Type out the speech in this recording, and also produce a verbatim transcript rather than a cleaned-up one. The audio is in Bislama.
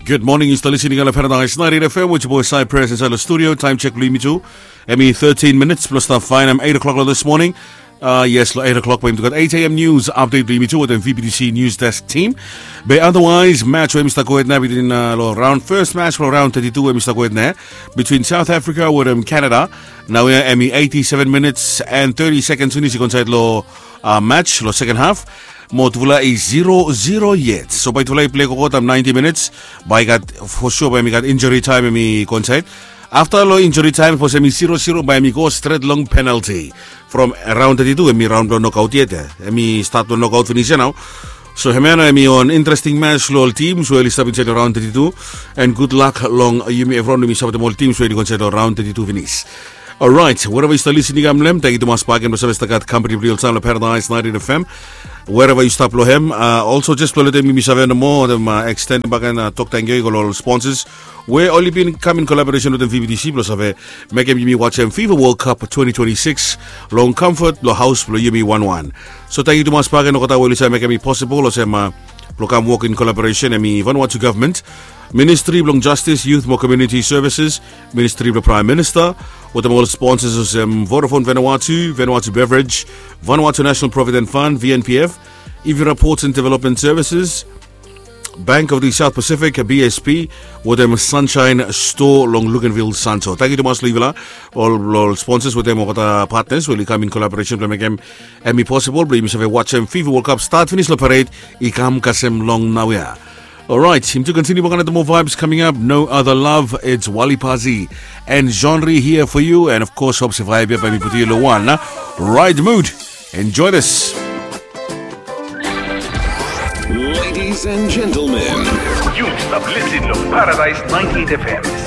Good morning, yu stap listening long Paradise ninety-eight F M with your boy Cypress inside the studio. Time check blo yumi tu. Hemi thirteen minutes plus stap faenem eight o'clock lo this morning. Uh, yes, lo eight o'clock bae yumi tu gat eight A M news update blo yumi tu wetem V B T C news desk team. Be otherwise, match we hemi stap gohed nao between uh, lo round first match lo round thirty-two we hemi stap gohed nao between South Africa wetem Canada. Naoia hemi eighty-seven minutes and thirty seconds finis i go insaed lo uh, match lo second half. Mo tufala i zero zero yet. So bae tufala i plei gogo taem ninety minutes. Bae i gat, for sure bae hemi gat injury time hemi go insaed. Afta lo injury time sapos hemi zero zero bae hemi go stret long penalty. From round thirty-two hemi raon blo nokaot yet ya. Hemi stat blo nokaot finis ya nao. So hemia nao hemi wan interesting match lo ol teams we oli stap insaed lo round thirty-two. And good luck long yumi evriwan we yumi sapotem ol teams we oli go insaed lo round thirty-two finis. Alright, wherever yu stap listening am long hem, tangkiu tumas bakegen blo save stap gat kampani blo yu oltaem lo Paradise ninety-eight F M. Wherever yu stap lo hem, uh, also just blo letem yumi save nomo, wetem uh, extend bakegen uh, tok tangkiu i go lo ol sponsors we oli bin kam in collaboration wetem V B T C blo save mekem yumi wajem FIFA World Cup twenty twenty-six long comfort blo haos blo yumi wanwan. So tangkiu tumas bakegen olgeta we oli save mekem i possible olsem uh, blo kam wok in collaboration hemi Vanuatu government, Ministry blong Justice, Youth mo Community Services, Ministry blong Prime Minister, wetem ol sponsors olsem Vodafone Vanuatu, Vanuatu Beverage, Vanuatu National Provident Fund, V N P F, Evira Ports and Development Services, Bank of the South Pacific, B S P, wetem Sunshine Store long Luganville, Santo. Tangkiu tumas lo yufala ol, ol sponsors wetem olgeta partners we oli kam in collaboration blong mekem hemi possible blong yumi save wajem FIFA World Cup stat finis lo parade i kam kasem long naoia. Alright, yumi tu kontiniu bakegen wetem moa vibes coming up. No Other Love, it's Wali Pazi and Genre here for you. And of course, hope se vibe ya bae mi putum yu lo wan na right mood. Enjoy this. Ladies and gentlemen, yu stap listening to Paradise ninety-eight F M.